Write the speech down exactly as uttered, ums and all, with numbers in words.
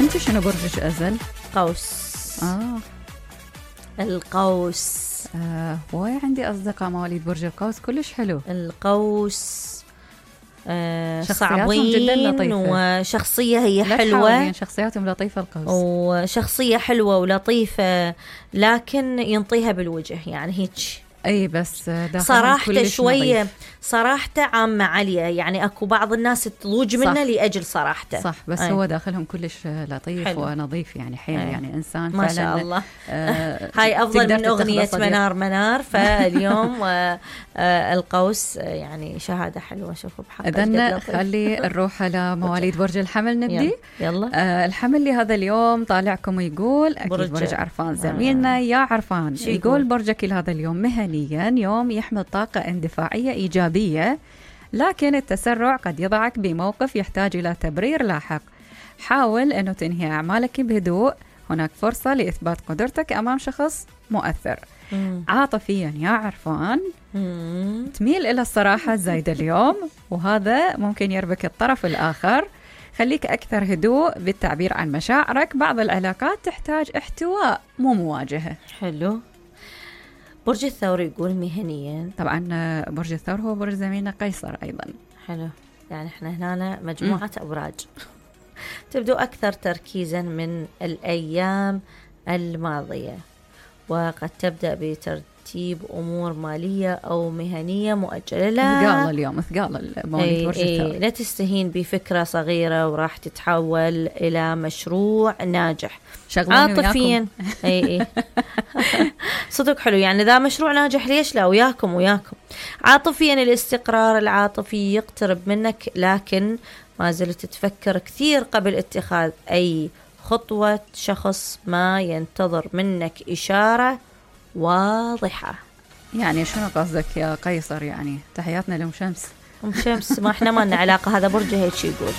انت شنو برجك ازل؟ قوس. اه القوس. آه واي عندي اصدقاء مواليد برج القوس كلش حلو. القوس آه شخصياتهم جدا لطيفة، وشخصية هي لا حلوة، شخصياتهم لطيفة القوس، وشخصية حلوة ولطيفة، لكن ينطيها بالوجه يعني هيك. اي بس صراحته شوية صراحته عامة عالية، يعني اكو بعض الناس تضوج منه لأجل صراحته. صح، بس أي. هو داخلهم كلش لطيف حلو. ونظيف يعني حيل، أي. يعني انسان ما فعلا شاء الله. آه هاي افضل من اغنية منار منار. فاليوم آه آه القوس يعني شهادة حلوة. شوفوا بحق. اذن خلي نروح لمواليد برج الحمل نبدي. يلا. آه الحمل لهذا اليوم طالعكم يقول اكيد برج, برج عرفان زميلنا. آه. يا عرفان يقول, يقول برجك لهذا اليوم مهنيا يوم يحمل طاقة اندفاعية إيجابية، لكن التسرع قد يضعك بموقف يحتاج إلى تبرير لاحق. حاول أنه تنهي أعمالك بهدوء، هناك فرصة لإثبات قدرتك أمام شخص مؤثر. مم. عاطفيا يا عرفان مم. تميل إلى الصراحة الزايدة اليوم، وهذا ممكن يربك الطرف الآخر. خليك أكثر هدوء بالتعبير عن مشاعرك، بعض العلاقات تحتاج احتواء مو مواجهة. حلو. برج الثور يقول مهنيا، طبعا برج الثور هو برج زميلنا قيصر أيضا. حلو، يعني احنا هنا مجموعة م. أبراج تبدو أكثر تركيزا من الأيام الماضية، وقد تبدأ بترتيب أمور مالية أو مهنية مؤجلة. لا ثقال اليوم، ثقال مواليد برج الثور. لا تستهين بفكرة صغيرة وراح تتحول إلى مشروع ناجح. عاطفيا اي اي صدق حلو، يعني ذا مشروع ناجح ليش لا، وياكم وياكم. عاطفيا الاستقرار العاطفي يقترب منك، لكن ما زلت تفكر كثير قبل اتخاذ أي خطوة. شخص ما ينتظر منك إشارة واضحة. يعني شنو قصدك يا قيصر؟ يعني تحياتنا لأم شمس. أم شمس ما احنا ما لنا علاقة، هذا برج هيك يقول.